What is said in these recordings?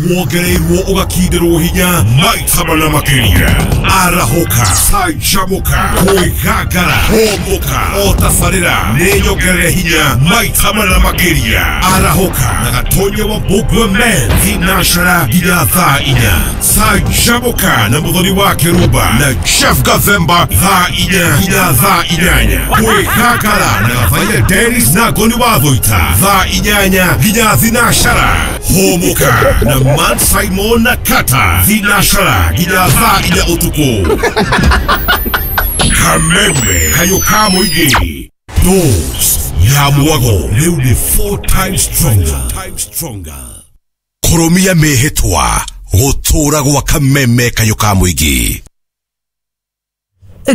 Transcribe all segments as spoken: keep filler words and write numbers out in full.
Wongereirwo ũgakindĩrwo hinya maita mana makĩria. Arahũka, canjamũka, kwĩgangara, hũmũka, o tabarĩra nĩ nyongerere hinya maita mana makĩria. Arahũka na Gatonya wa Mbũngwe Men thinacara nginya thaa inya. Canjamũka na Mũthoni wa Kĩrumba na Jeff Gathemba thaa inya nginya thaa inyanya. Kwĩgangara na Gathaia Dennis na Ngoni wa Thũita thaa inyanya nginya thinacara. Hũmũka na Man Simon na Kata thinacara nginya thaa inya ũtukũ. Kameme kayo ka mũingĩ, Dose ya mwago rĩu nĩ four times stronger. Stronger. Kũrũmia mĩhĩtwa gũtũũra gwa Kameme kayo ka mũingĩ.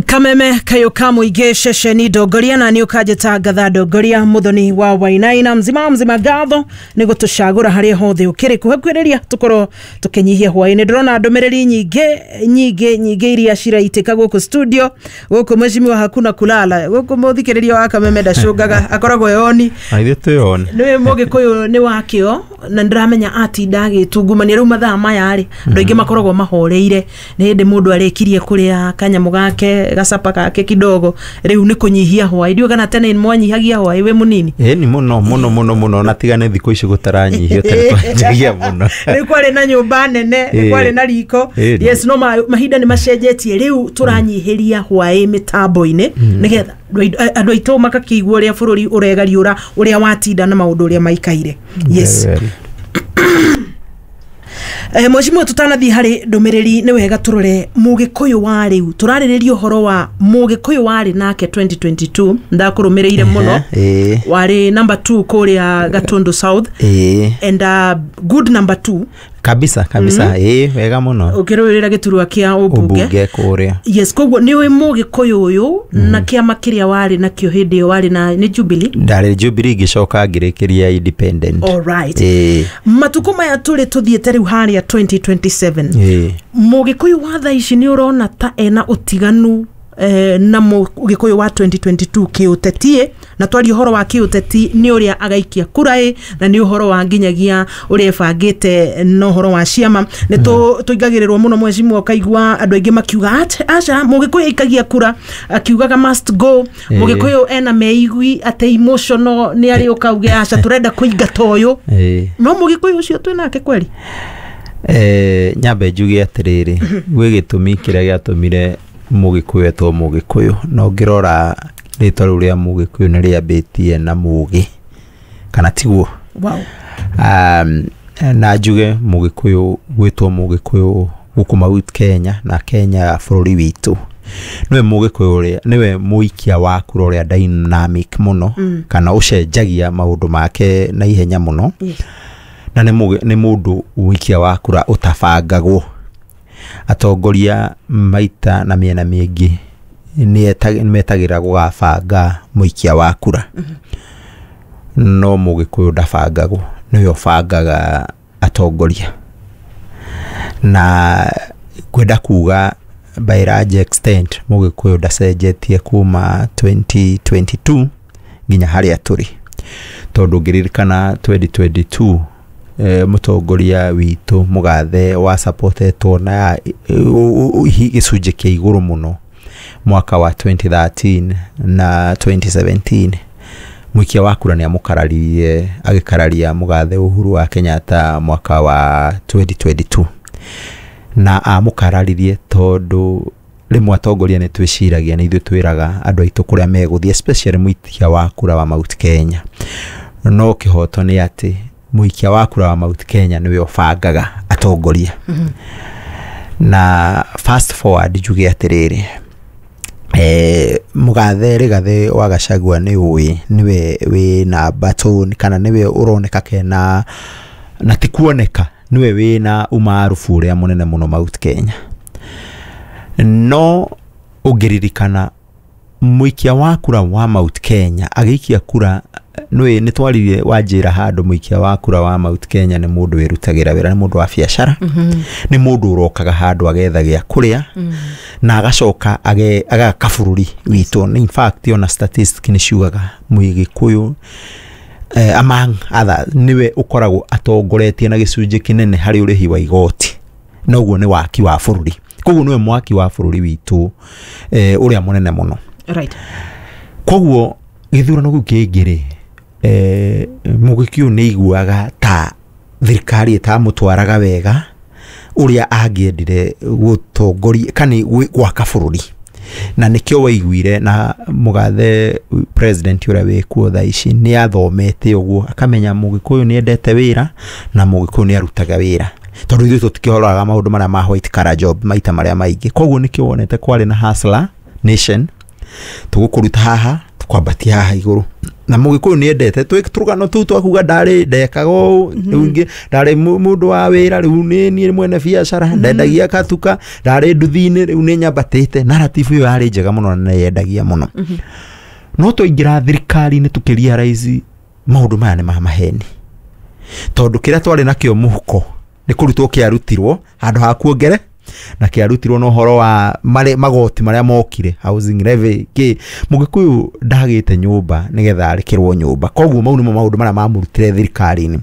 Kameme kayo ka mũingĩ, ceceni ndongoria na nĩ ũkanjĩta ngatha ndongoria Mũthoni wa Wainaina. Mzima mzima, ngatho nĩ gũtũcagũra harĩa hothe ũkĩrĩ kũhakuhĩrĩria tũkorwo tũkĩnyihia hwaĩ-inĩ. Ndĩrona ndũmĩrĩri nyingĩ nyingĩ nyingĩ iria ciraitĩka gũkũ studio gũkũ. Mheshimiwa, hakuna kulala gũkũ. Mũthikĩrĩria wa Kameme ndacũngaga, akoragwo eyoni. Ithuĩ twĩone. Nĩ mũgĩkũyũ nĩ wakĩo na ndĩramenya atinda agĩtungumania. Rĩu mathaa maya rĩ, andũ aingĩ makoragwo mahoreire, nĩ hĩndĩ mũndũ arĩkirie kũrĩa kanyamũ gake, gacapa gake kidogo, rĩu nĩ kũnyihia hwaĩ. Ndiũĩ kana tene mwanyihagia hwaĩ wĩ mũnini? Ĩni, mũno mũno mũno mũno, na tiga nĩ thikũ ici gũtaranyihio, tene twanjagia mũno. Rĩu kwarĩ na nyũmba nene, nĩ Ĩĩ. kwarĩ na riko. Ĩĩ. Yes, no ma, mahinda nĩ macenjetie. Rĩu tũranyihĩria hwaĩ mĩtambo-inĩ nĩgetha andũ aitũ makakĩigua ũrĩa bũrũri ũregariũra, ũrĩa watinda na maũndũ ũrĩa maikaire. Yes. Very well. Eh, mheshimiwa, tutanathiĩ harĩ ndũmĩrĩri, nĩ wega tũrore mũgĩkũyũ wa rĩu. Tũrarĩrĩria ũhoro wa mũgĩkũyũ warĩ nake twenty twenty-two, ndakũrũmĩrĩire mũno. Ĩĩ. Warĩ number two kũrĩa Gatundu South Ĩĩ. and uh, good number two. Kabisa kabisa, ĩĩ, wega mũno. Ũkĩrũĩrĩra gĩturwa kĩa ũmbunge. Ũmbunge kũrĩa. Yes, koguo nĩ ũĩ mũgĩkũyũ ũyũ na kĩama kĩrĩa warĩ nakĩo hĩndĩ ĩyo warĩ na nĩ Jubilee. Ndarĩ Jubilee, ngĩcoka ngĩrĩkĩria independent. Alright. Ĩĩ. Matukũ maya tũrĩ tũthiĩte rĩu harĩa twenty twenty-seven, Ĩĩ. mũgĩkũyũ wa thaa ici nĩ ũrona ta ena ũtiganu eh, na mũgĩkũyũ wa twenty twenty-two kĩũteti? Na twaria ũhoro wa kĩũteti, nĩ ũrĩa agaikia kura ĩ, na nĩ ũhoro wa nginyagia ũrĩa ĩbangĩte na ũhoro wa ciama nĩ tũ- tũingagĩrĩrwo mũno, mheshimiwa, ũkaigua andũ aingĩ makiuga "Ach- aca mũgĩkũyũ aikagia kura akiugaga must go." Ĩĩ. Mũgĩkũyũ ena meigui atĩ emotional, nĩ arĩ ũkauge aca, tũrenda kũingata ũyũ. Ĩĩ. No mũgĩkũyũ ũcio twĩ nake kweri? Eh, nyambe njuge atĩrĩrĩ, gwĩ gĩtũmi kĩrĩa gĩatũmire mũgĩkũyũ etwo mũgĩkũyũ, na ũngĩrora rĩtwa rĩu rĩa mũgĩkũyũ nĩ rĩambĩtie na mũgĩ, kana tiguo? Wow. um, na njuge mũgĩkũyũ gwĩtwo mũgĩkũyũ gũkũ Mount Kenya na Kenya bũrũri witũ, nĩwe mũgĩkũyũ ũrĩa nĩwe mũikia wa kura ũrĩa dynamic mũno, mm. kana ũcenjagia maũndũ make na ihenya mũno. Yes. Na nĩ mũgĩ- nĩ mũndũ ũikia wa kura ũtabangagwo. Atongoria maita na mĩena mĩingĩ nĩ metagĩra gũgabanga mũikia wa kura, no mũgĩkũyũ ndabangagwo, nĩwe ũbangaga atongoria. Na ngwenda kuga by large extent mũgĩkũyũ ndacenjetie kuma twenty twenty-two nginya harĩa tũrĩ, tondũ ngĩririkana twenty twenty-two, eh, mũtongoria witũ mũgathe wa supportetwo na gĩcunjĩ kĩa igũrũ mũno mwaka wa twenty thirteen na twenty seventeen, mũikia wa kura nĩ amũkararirie, agĩkararia mũgathe Uhuru wa Kenyatta mwaka wa twenty twenty-two, na amũkararirie tondũ rĩmwe atongoria nĩ twĩciragia nĩ ithuĩ twĩraga andũ aitũ kũrĩa megũthiĩ, especially mũikia wa kura wa Mount Kenya. No kĩhoto nĩ atĩ mũikia wa kura wa Mount Kenya nĩwe ũbangaga atongoria. Na fast forward njuge atĩrĩrĩ, eh, mũgathe Rigathĩ wa Gachagua nĩ ũĩ nĩwe wĩna baton, kana nĩwe ũroneka kena na ti kuoneka nĩwe wĩna umaarufu ũrĩa mũnene mũno Mount Kenya. No ũngĩririkana mũikia wa kura wa Mount Kenya agĩikia kura, nĩ nĩ twaririe wanjĩra handũ, mũikia wa kura wa Mount Kenya nĩ mũndũ wĩrutagĩra wĩra, nĩ mũndũ wa biacara, nĩ mũndũ ũrokaga handũ agetha gĩa kũrĩa na agacoka age- agaka bũrũri witũ. In fact, ona statistic nĩ ciugaga mũgĩkũyũ eh, among others niwe ukoragwo atongoretie na gĩcunjĩ kĩnene harĩ ũrĩhi wa igoti, na ũguo nĩ waki wa bũrũri. Koguo niwe mwaki wa bũrũri witũ eh, ũrĩa mũnene mũno. Right. Koguo gĩthurano kĩu kĩngĩ rĩ, eh, Mũgĩkũyũ nĩ aiguaga ta thirikari ĩtamũtwaraga wega ũrĩa angĩendire gũtongoria kana gwaka bũrũri, na nĩkĩo waiguire na mũgathe president ũrĩa wĩkuo thaa ici nĩ athomete ũguo akamenya Mũgĩkũyũ nĩ endete wĩra na Mũgĩkũyũ nĩ arutaga wĩra, tondũ ithuĩ tũtikĩhoraga maũndũ marĩa ma white collar job maita marĩa maingĩ. Koguo nĩkĩo wonete kwarĩ na hustler nation, tũgũkũruta haha tũkwambatia haha igũrũ, na Mũgĩkũyũ nĩ endete tũrũgano tũu twakuga ndarĩ ndekaga ũũ, rĩu ingĩ ndarĩ mũndũ wa wĩra, rĩu nĩ niĩ mwene biacara, ndendagia katuka, ndarĩ nduthi-inĩ, rĩu nĩ nyambatĩte. Narrative ĩyo yarĩ njega mũno na nĩ yendagia mũno. No twaingĩra thirikari-inĩ tũkĩrealize maũndũ maya nĩ ma maheni, tondũ kĩrĩa twarĩ nakĩo mũhuko nĩ kũrutwo kĩarutirwo handũ ha kuongere, na kĩarutirwo na ũhoro wa mare, magoti marĩa mokire, housing levy kĩ. Mũgĩkũyũ ndagĩte nyũmba nĩgetha arĩkĩrwo nyũmba. Koguo mau nĩmo maũndũ marĩa mamũrutire thirikari-inĩ.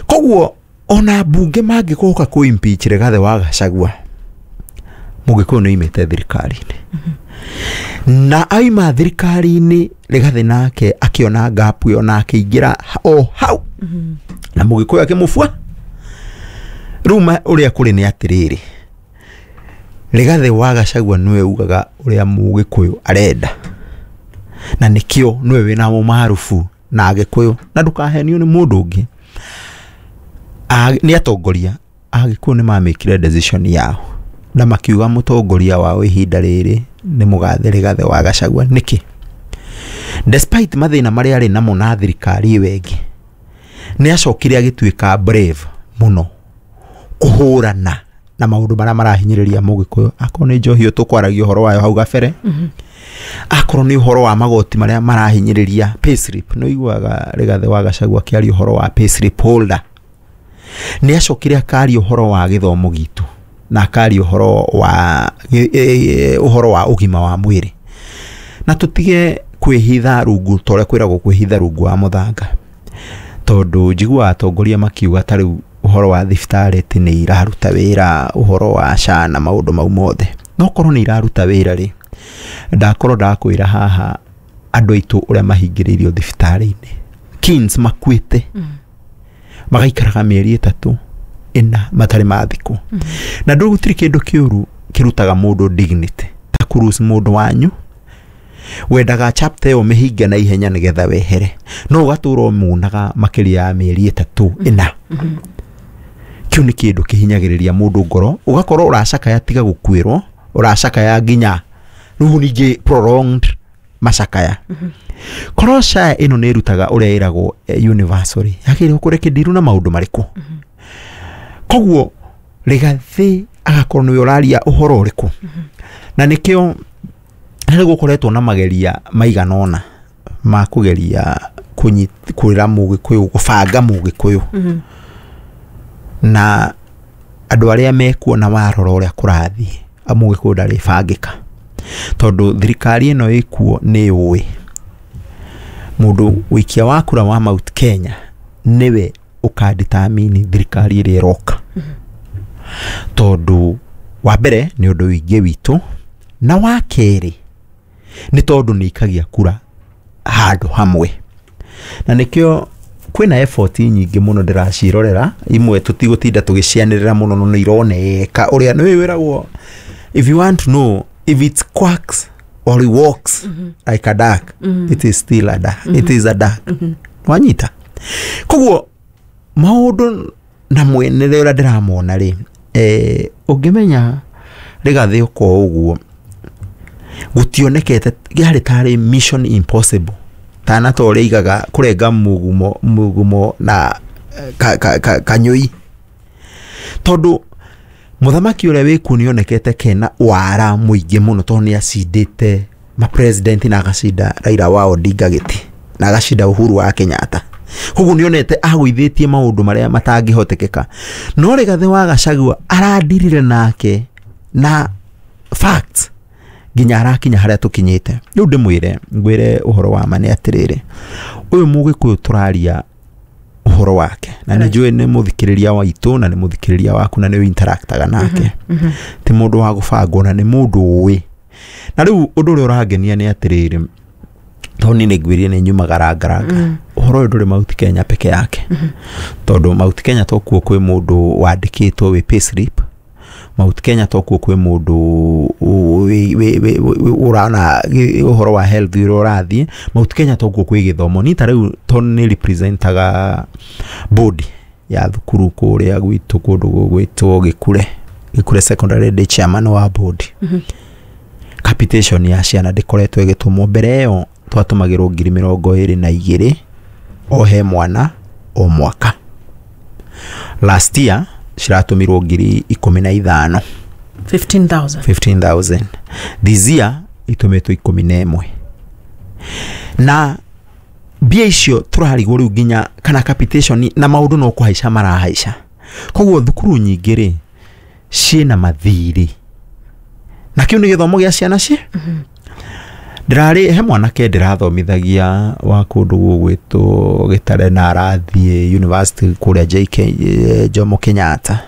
Koguo ona mbunge mangĩgoka kũ impeach Rigathĩ wa Gachagua, Mũgĩkũyũ nĩ oimĩte thirikari-inĩ, na aima thirikari-inĩ Rigathĩ nake akĩona gap ĩyo na akĩingĩra o hau na Mũgĩkũyũ akĩmũbua. Rĩu ũrĩa kũrĩ nĩ atĩrĩrĩ, Rigathĩ wa Gachagua nĩwe ugaga ũrĩa Mũgĩkũyũ arenda, na nĩkĩo nĩwe wĩna ũmarubu na Agĩkũyũ, na ndũkahenio nĩ mũndũ ũngĩ. Nĩ atongoria Agĩkũyũ nĩ mamĩkire decision yao na makiuga mũtongoria wao ihinda rĩrĩ nĩ mũgathe Rigathĩ wa Gachagua. Nĩkĩ? Despite mathĩna marĩa arĩ namo na thirikari ĩyo ĩngĩ, nĩ acokire agĩtuĩka brave mũno kũhũrana na maũndũ marĩa marahinyĩrĩria Mũgĩkũyũ, akorwo nĩ njohi ĩyo tũkwaragia ũhoro wayo hau gabere, akorwo nĩ ũhoro wa magoti marĩa marahinyĩrĩria payslip. Nĩ ũiguaga Rigathĩ wa Gachagua akĩaria ũhoro wa payslip holder. Nĩ acokire akaria ũhoro wa gĩthomo gitũ na akaria ũhoro wa ũhoro wa ũgima wa mwĩrĩ, na tũtige kwĩhitha rungu ta ũrĩa kwĩragwo kwĩhitha rungu wa mũthanga, tondũ njiguaga atongoria makiuga ta rĩu ũhoro wa thibitarĩ atĩ nĩ iraruta wĩra, ũhoro wa SHA na maũndũ mau mothe. No korwo nĩ iraruta wĩra rĩ, ndakorwo ndakwĩra haha andũ aitũ ũrĩa mahingĩrĩirio thibitarĩ-inĩ kins makuĩte, magaikaraga mĩeri ĩtatũ ĩna matarĩ mathikwo. Na ndũ gũtirĩ kĩndũ kĩũru kĩrutaga mũndũ dignity ta kũruse mũndũ wanyu wendaga chapter ĩyo mĩhinge na ihenya nĩgetha wehere, no ũgatũra ũmunaga makĩria ya mĩeri ĩtatũ ĩna. Kĩu nĩ kĩndũ kĩhinyagĩrĩria mũndũ ngoro, ũgakorwo ũracakaya tiga gũkuĩrwo, ũracakaya nginya rĩu ningĩ prolonged macakaya. Korwo SHA ĩno nĩ ĩrutaga ũrĩa ĩragwo universal rĩ, yagĩrĩirwo kũrekererio na maũndũ marĩkũ? Koguo Rigathĩ agakorwo nĩwe ũraria ũhoro ũrĩkũ, na nĩkĩo nĩ gũkoretwo na mageria maigana ũna ma kũgeria kwĩra Mũgĩkũyũ, gũbanga Mũgĩkũyũ, na andũ arĩa mekuo na warora ũrĩa kũrathiĩ, Mũgĩkũyũ ndarĩbangĩka, tondũ thirikari ĩno ĩkuo nĩ yũĩ mũndũ ũikia wa kura wa Mount Kenya nĩwe ũkadetermine thirikari ĩrĩa ĩroka, tondũ wa mbere nĩ ũndũ wĩingĩ witũ, na wa kerĩ nĩ tondũ nĩ ikagia kura handũ hamwe. Na nĩkĩo kwĩna effort nyingĩ mũno ndĩracirorera, imwe tũtigũtinda tũgĩcianĩrĩra mũno, no nĩ ironeka ũrĩa nĩ wĩragwo, if you want to know if it quacks or it walks mm -hmm. like a duck, mm -hmm. it is still a duck. Mm -hmm. It is a duck. Mm -hmm. Wanyita? Koguo maũndũ na mwenere ũrĩa ndĩramona rĩ, eh, ũngĩmenya Rigathĩ ũko ũguo gũtionekete yarĩ tarĩ mission impossible, tana ta ũrĩa igaga kũrenga mũgumo mũgumo na ka, ka, ka, kanyũi, tondũ mũthamaki ũrĩa wĩkuo nĩonekete kena wara mũingĩ mũno, tondũ nĩ acindĩte ma-president na agacinda Raila wa Odinga gĩtĩ na agacinda Uhuru wa Kenyatta. Koguo nĩonete agũithĩtie maũndũ marĩa matangĩhotekeka. No Rigathĩ wa Gachagua aradirire nake na facts Nginya arakinya haria tukinyite. Riu ndimwire ngwire uhoro wa ma ni atiriri, uyu Mugikuyu turaria uhoro wake na nĩ njũĩ nĩ mũthikĩrĩria wa itũ na nĩ mũthikĩrĩria waku na nĩ interactaga nake, ti mũndũ wa gũbangwo na nĩ mũndũ ũĩ. Na rĩu ũndũ ũrĩa ũrangenia nĩ atĩrĩrĩ, tondũ niĩ nĩ ngwĩrire nĩ nyumaga rangaranga, ũhoro ũyũ ndũrĩ Mount Kenya peke yake, tondũ Mount Kenya tokuo kwĩ mũndũ wandĩkĩtwo wĩ payslip. Mount Kenya tokuo kwĩ mũndũ ũrana ũhoro wa health ũrĩa ũrathiĩ. Mount Kenya tokuo kwĩ gĩthomo. Niĩ ta rĩu tondũ nĩ representaga board ya thukuru kũrĩa gwitũ kũndũ gũgwĩtwo Gĩkure, Gĩkure Secondary, ndĩ chairman wa board. Capitation ya ciana ndĩkoretwo ĩgĩtũmwo. Mbere ĩyo twatũmagĩrwo ngiri mĩrongo ĩrĩ na igĩrĩ o he mwana o mwaka. Last year ciratũmirwo ngiri ikũmi na ithano, fifteen thousand. fifteen thousand. This year itũmĩtwo ikũmi na ĩmwe, na mbia icio tũrarigwo rĩu nginya kana capitation na maũndũ no kũhaica marahaica. Koguo thukuru nyingĩ rĩ ciĩna mathirĩ, na kĩu nĩ gĩthomo gĩa ciana ci ndĩrarĩ. He mwanake ndĩrathomithagia wa kũndũ gũgwĩtwo Gĩtare na arathiĩ university kũrĩa J K, eh, Jomo Kenyatta,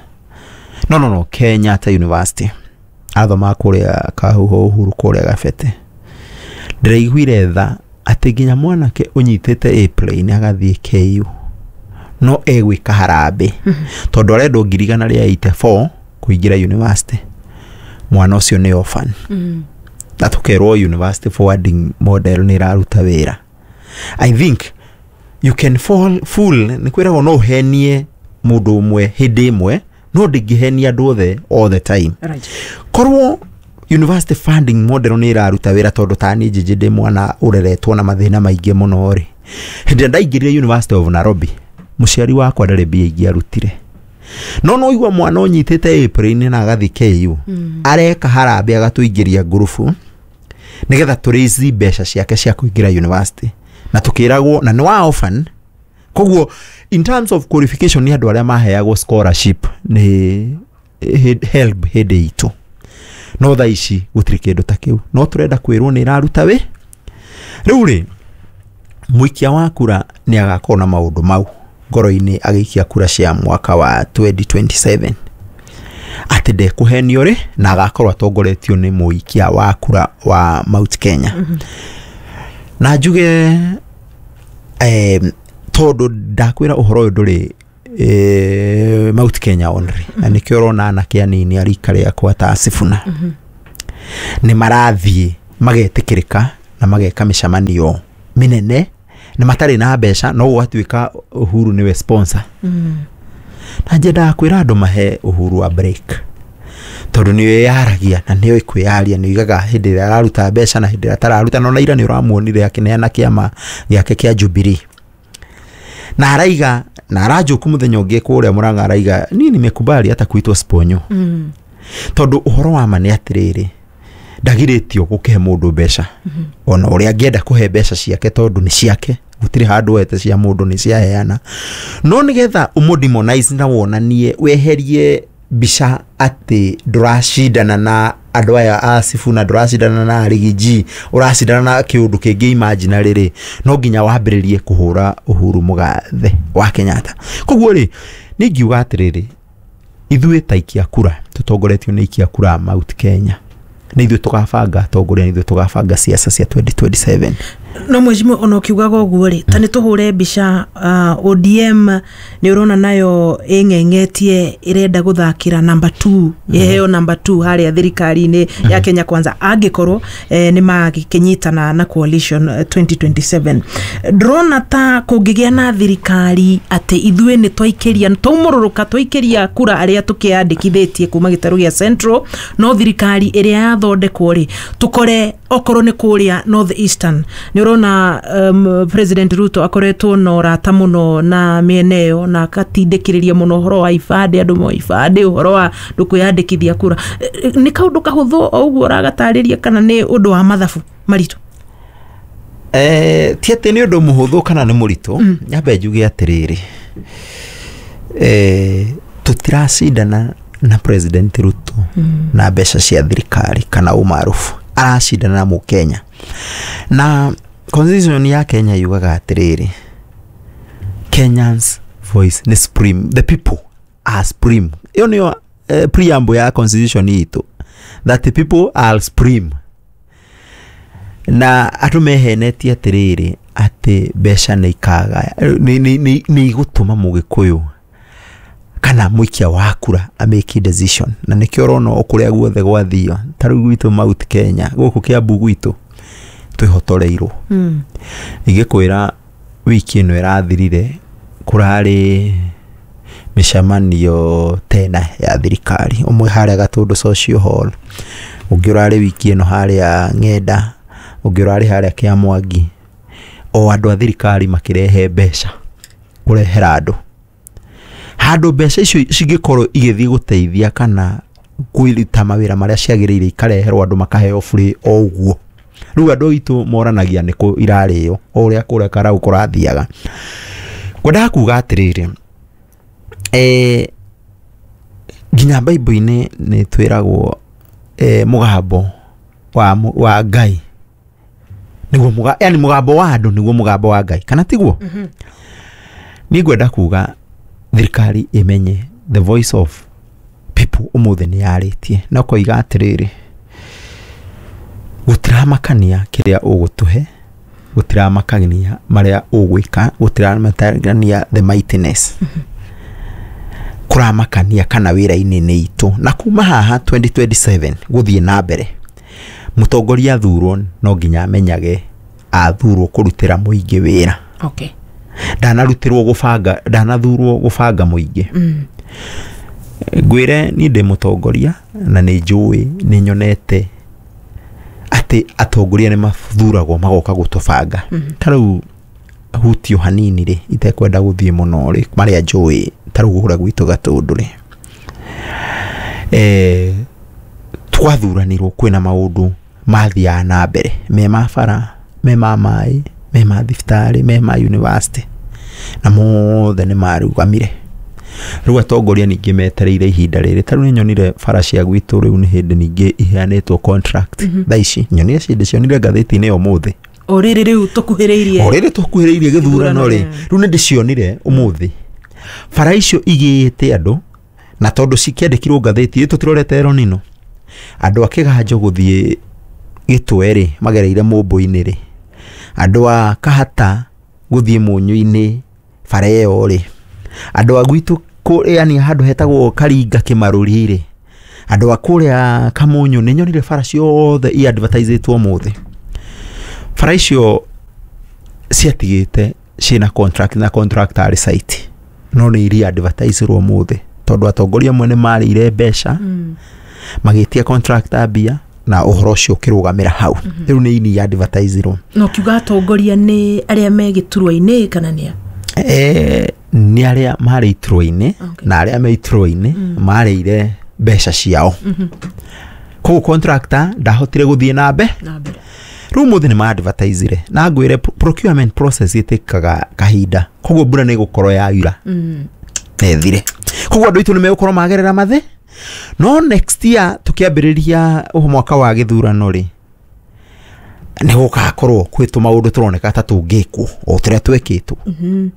no no no Kenyatta University, athomaga kũrĩa Kahuho Uhuru kũrĩa Gabete. Ndĩraiguire tha atĩ nginya mwanake ũnyitĩte A plane agathiĩ K U no egwĩka harambĩ tondũ arendwo ngiri igana rĩa eighty-four kũingĩra university. Mwana ũcio nĩ orphan, na tũkerwo university forwarding model nĩ ĩraruta wĩra. I think you can fall fool, nĩ kwĩragwo no ũhenie mũndũ ũmwe hĩndĩ ĩmwe, no ndĩngĩhenia andũ othe all the time. Right. Korwo university funding model nĩ ĩraruta wĩra, tondũ ta niĩ Njĩnjĩ ndĩ mwana ũreretwo na mathĩna maingĩ mũno rĩ, hĩndĩ ĩrĩa ndaingĩrire University of Nairobi mũciari wakwa ndarĩ mbia ingĩarutire, no no igua mwana ũnyitĩte A na agathiĩ K U areka harambĩ agatũingĩria ngurubu nĩgetha tũraise mbeca ciake cia kũingĩra university, na tũkĩragwo na nĩ wa orphan. Koguo in terms of qualification nĩ andũ arĩa maheagwo scholarship nĩ HELB hĩndĩ itũ, no thaa ici gũtirĩ kĩndũ ta kĩu, no tũrenda kwĩrwo nĩ ĩraruta wĩ. Rĩu rĩ, mũikia wa kura nĩ agakorwo na maũndũ mau ngoro-inĩ agĩikia kura cia mwaka wa twenty twenty-seven, atĩ ndekũhenio rĩ, na agakorwo atongoretio nĩ mũikia wa kura wa Mount Kenya. mm -hmm. Na njuge eh, tondũ ndakwĩra ũhoro ũyũ ndũrĩ eh, Mount Kenya only, mm -hmm. na nĩkĩo ũrona anake anini a rika rĩakwa ta Sifuna mm -hmm. nĩ marathiĩ magetĩkĩrĩka na mageka mĩcemanio mĩnene na matarĩ na mbeca, no gũgatuĩka Uhuru nĩwe sponsor. mm. Na njendaga kwĩra andũ mahe Uhuru wa break, tondũ nĩwe yaragia na nĩoĩ kwĩyaria, nĩ oigaga hĩndĩ ĩrĩa araruta mbeca na hĩndĩ ĩrĩa atararuta. No na ira nĩ ũramuonire akĩneana kĩama gĩake kĩa Jubilee na araiga na aranjũku mũthenya ũngĩ kũrĩa Murang'a, araiga niĩ nimekubali hata kuitwo sponyo. mm. Tondũ ũhoro wa ma nĩ atĩrĩrĩ, ndagirĩtio gũkĩhe mũndũ mbeca ona ũrĩa angĩenda kũhe mbeca ciake, tondũ nĩ ciake, gũtirĩ handũ wete cia mũndũ nĩ ciaheana. No nĩgetha ũmũ na wonanie weherie mbica atĩ ndũracindana na andũ aya a Sifuna, ndũracindana na Riggy, ũracindana na kĩũndũ kĩngĩ imaginary rĩ, no nginya wambĩrĩrie kũhũra Uhuru Mũgathe wa Kenyatta. Koguo rĩ, niĩ ngiuga atĩrĩrĩ, ithuĩ ta ikia kura tũtongoretio nĩ ikia kura a Mount Kenya, nĩ ithuĩ tũgabanga atongoria, nĩ ithuĩ tũgabanga ciaca cia twenty twenty-seven. No mheshimiwa, ona ũkiugaga ũguo rĩ, ta nĩ tũhũre mbica uh, O D M nĩ ũrona nayo ĩng'eng'etie ĩrenda gũthakĩra number two, ĩheo number two harĩa thirikari-inĩ ya Kenya Kwanza angĩkorwo eh, nĩ magĩkĩnyitana na coalition eh, twenty twenty-seven. Ndĩrona ta kũngĩgĩa na thirikari atĩ ithuĩ nĩ twaikĩria twaumũrũrũka twaikĩria kura arĩa tũkĩandĩkithĩtie kuma gĩtarũ gĩa Central, no thirikari ĩrĩa yathondekwo rĩ, tũkore okorwo nĩ kũrĩa North Eastern nĩ ũrona um, President Ruto akoretwo na ũrata mũno na mĩena ĩyo na akatindĩkĩrĩria mũno ũhoro wa ibandĩ, andũ moe ibandĩ, ũhoro wa andũ kwĩyandĩkithia kura. Eh, nĩ kaũndũ kahũthũ o ũguo ũragatarĩria kana nĩ ũndũ wa mathabu maritũ? Eh, ti atĩ nĩ ũndũ mũhũthũ kana nĩ mũritũ. Nyambe njuge atĩrĩrĩ, eh, tũtiracindana na President Ruto na mbeca cia thirikari kana ũmarubu. Aracindana na Mũkenya. Na constitution ya Kenya yugaga atĩrĩrĩ, Kenyans voice nĩ supreme, the people are supreme. Ĩyo nĩyo eh, preamble ya constitution itũ, that the people are supreme. Na andũ mehenetie atĩrĩrĩ, atĩ mbeca nĩ ikagaya, nĩ nĩ- nĩ nĩ igũtũma Mũgĩkũyũ kana mũikia wa kura a make decision. Na nĩkĩo ũrona o kũrĩa guothe gwathio, ta rĩu gwitũ Mount Kenya, gũkũ Kiambu gwitũ, twĩhotoreirwo. Mm. Ingĩkwĩra wiki ĩno ĩrathirire kũrarĩ mĩcemanio tena ya thirikari, ũmwe harĩa Gatũndũ Social Hall, ũngĩ ũrarĩ wiki ĩno harĩa Ng'enda, ũngĩ ũrarĩ harĩa Kĩamwangi. O andũ a thirikari makĩrehe mbeca kũrehera andũ handũ mbeca icio cingĩkorwo igĩthiĩ gũteithia kana kwĩruta mawĩra marĩa ciagĩrĩire, ikareherwo andũ makaheo free o ũguo. Rĩu andũ aitũ moranagia nĩkũ irarĩo, o ũrĩa kũrĩa karau kũrathiaga. Ngwendaga kuga atĩrĩrĩ, eh, nginya Bible-inĩ nĩ twĩragwo eh, mũgambo wa, mu- wa Ngai nĩguo mũga, yani mũgambo wa andũ nĩguo mũgambo wa Ngai, kana tiguo? mm -hmm. Niĩ ngwenda kuga thirikari ĩmenye the voice of people ũmũthĩ nĩ yarĩtie na ũkoiga atĩrĩrĩ, gũtiramakania kĩrĩa ũgũtũhe, gũtiramakania marĩa ũgwĩka, gũtiramakania the mightiness, kũramakania kana wĩra-inĩ nĩ itũ. Na kuma haha twenty twenty-seven gũthiĩ na mbere, mũtongoria athurwo no nginya amenyage athurwo kũrutĩra mũingĩ wĩra. Okay. Ndanarutirwo gũbanga, ndanathurwo gũbanga mũingĩ. Mm. Ngwĩre niĩ ndĩ mũtongoria na nĩ njũĩ, nĩ nyonete atĩ atongoria nĩ mathuragwo magoka gũtũbanga. Ta rĩu hutio hanini rĩ, itekwenda gũthiĩ mũno rĩ, marĩa njũĩ, ta rĩu kũrĩa gwitũ Gatũndũ rĩ, eh, twathuranirwo kwĩna maũndũ mathiaga na mbere, me ma bara, me ma maĩ, me ma thibitarĩ, me ma university, na mothe nĩ marũgamire. Rĩu atongoria ningĩ metereire ihinda rĩrĩ. Ta rĩu nĩ nyonire bara cia gwitũ rĩu nĩ hĩndĩ ningĩ iheanĩtwo contract thaa ici. Nyonire ciĩndĩ cionire ngathĩti-inĩ ũmũthĩ. O rĩrĩ rĩu tũkuhĩrĩirie. O rĩrĩ tũkuhĩrĩirie gĩthurano rĩ, rĩu nĩ ndĩcionire ũmũthĩ bara icio igĩĩte andũ, na tondũ cikĩandĩkirwo ngathĩti tũtirorete Ronino, andũ a Kĩganjo gũthiĩ Gĩtwe rĩ, magereire Mũmbũ-inĩ rĩ, andũ a Kahata gũthiĩ Mũnyũ-inĩ bara ĩyo rĩ, andũ a gwitũ kũ- yani handũ hetagwo Karinga Kĩmarũri rĩ, andũ a kũrĩa Kamunyũ, nĩ nyonire bara ciothe i advertisĩtwo ũmũthĩ. Bara icio ciatigĩte ciĩna contract na contract arĩ site, no nĩ iria advertisirwo ũmũthĩ tondũ atongoria amwe nĩ marĩire mbeca, Mm. magĩtia contractor mbia na ũhoro ũcio ũkĩrũgamĩra hau. Rĩu nĩ ini advertisirwo. Na ũkiuga atongoria, nĩ arĩa me gĩturwa-inĩ kana nĩ a? Eh, nĩ arĩa marĩ iturwa-inĩ. Okay. Na arĩa me iturwa-inĩ marĩire mbeca ciao, koguo contractor ndahotire gũthiĩ na mbe Na mbere. Rĩu ũmũthĩ nĩ ma-advertisire, na ngwĩre pro- procurement process ĩtĩkaga kahinda, koguo mbura nĩ ĩgũkorwo yaura Mm. na ĩthire, koguo andũ aitũ nĩ megũkorwo magerera mathĩ. No next year tũkĩambĩrĩria ũhũ mwaka wa gĩthurano rĩ, nĩ gũgakorwo kwĩ tũmaũndũ tũroneka ta tũngĩkwo o tũrĩa twekĩtwo, Mhm.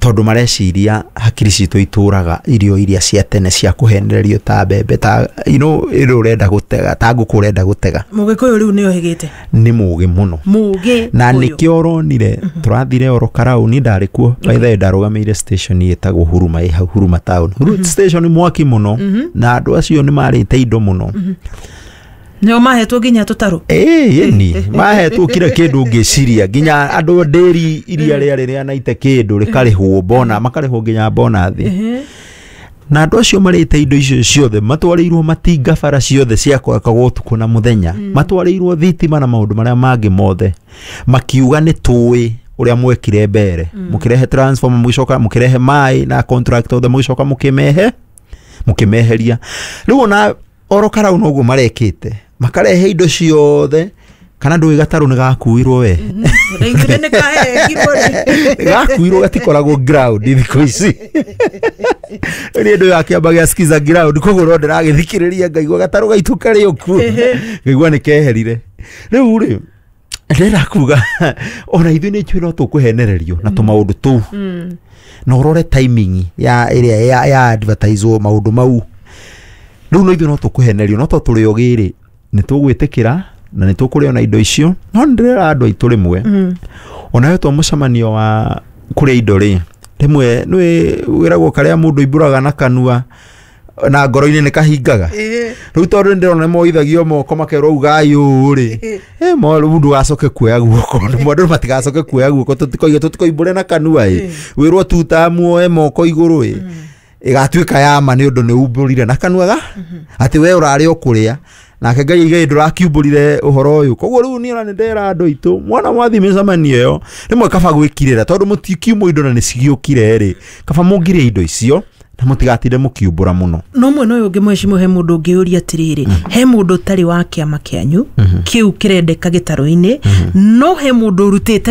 tondũ mareciria hakiri citũ itũraga irio iria cia tene cia kũhenererio, ta mbembe, ta you know, ĩrĩa ũrenda gũtega, ta ngũkũ ũrenda gũtega. Mũgĩkũyũ rĩu nĩ ohĩgĩte. Nĩ mũgĩ mũno. Mũgĩ. Na nĩkĩo ũronire tũrathire oro Karau, niĩ ndarĩ kuo. By the way, ndarũgamĩire station ĩtagwo Huruma, ĩ hau Huruma town. Huruma station mwaki mũno, na andũ acio nĩ marĩte indo mũno. Nĩo mahetwo nginya tũtarũ. Ĩĩ, ĩni mahetwo kira kĩndũ ũngĩciria, nginya andũ ndĩri iria rĩarĩ rĩanaite kĩndũ rĩkarĩhwo bona, makarĩhwo nginya bonathi. Na andũ acio marĩte indo icio ciothe matwarĩirwo matinga, bara ciothe ciakwakagwo ũtukũ na mũthenya, matwarĩirwo thitima na maũndũ marĩa mangĩ mothe, makiuga nĩ tũĩ ũrĩa mwekire mbere, mũkĩrehe transformer, mũgĩcoka mũkĩrehe maĩ na contract othe, mũgĩcoka mũkĩmehe mũkĩmeheria. Rĩu ona oro Karau noguo marekĩte, makarehe indo ciothe. Kana ndũĩ gatarũ nĩ gakuirwo we? Ndaiguire nĩ kahengirwo rĩ. Gakuirwo, gatikoragwo ground thikũ ici. Rĩu ndũ yakĩamba gĩa skiza ground, koguo no ndĩragĩthikĩrĩria ngaigua gatarũ gaitũ karĩ o kuo, ngaigua nĩ keherire. Rĩu rĩ, ndĩrenda kuga ona ithuĩ nĩ njũĩ no tũkũhenererio na tũmaũndũ tũu, na ũrore timing ya ĩrĩa ya, ya advertise maũndũ mau. Rĩu no ithuĩ no tũkũhenerio, no to tũrĩ ogĩ rĩ, nĩ tũgwĩtĩkĩra na nĩ tũkũrĩa na indo icio. No nĩ ndĩrera andũ aitũ rĩmwe, ona wetwo mũcemanio wa kũrĩa indo rĩ, rĩmwe nĩ wĩragwo karĩa mũndũ imbũraga na kanua na ngoro-inĩ nĩ kahingaga. Rĩu tondũ nĩ ndĩrona nĩmoithagio moko makerwo ugai ũũ rĩ, eh, mo rĩu ndũgacoke kuoya guoko, andũ matigacoke kuoya guoko, tũtikoige tũtikoimbũre na kanua ĩ, wĩrwo tuta muoe moko igũrũ ĩ, ĩgatuĩka ya ma nĩ ũndũ nĩ umbũrire na kanua ga atĩ we ũrarĩ o kũrĩa nake Ngai aigai ndũrakiumbũrire ũhoro ũyũ. Koguo rĩu niĩ ona nĩ ndera andũ aitũ, mwana mwathiĩ mĩcemanio ĩyo, rĩmwe kaba gwĩkirĩra tondũ mũtikiumwo indo na nĩ cigĩũkire rĩ, kaba mũngĩrĩa indo icio na mũtigatinde mũkiumbũra mũno. No mwena ũyũ ũngĩ, mheshimiwa, he mũndũ ũngĩũria atĩrĩrĩ, he mũndũ ũtarĩ wa kĩama kĩanyu kĩu kĩrendeka gĩtarũ-inĩ, no he mũndũ ũrutĩte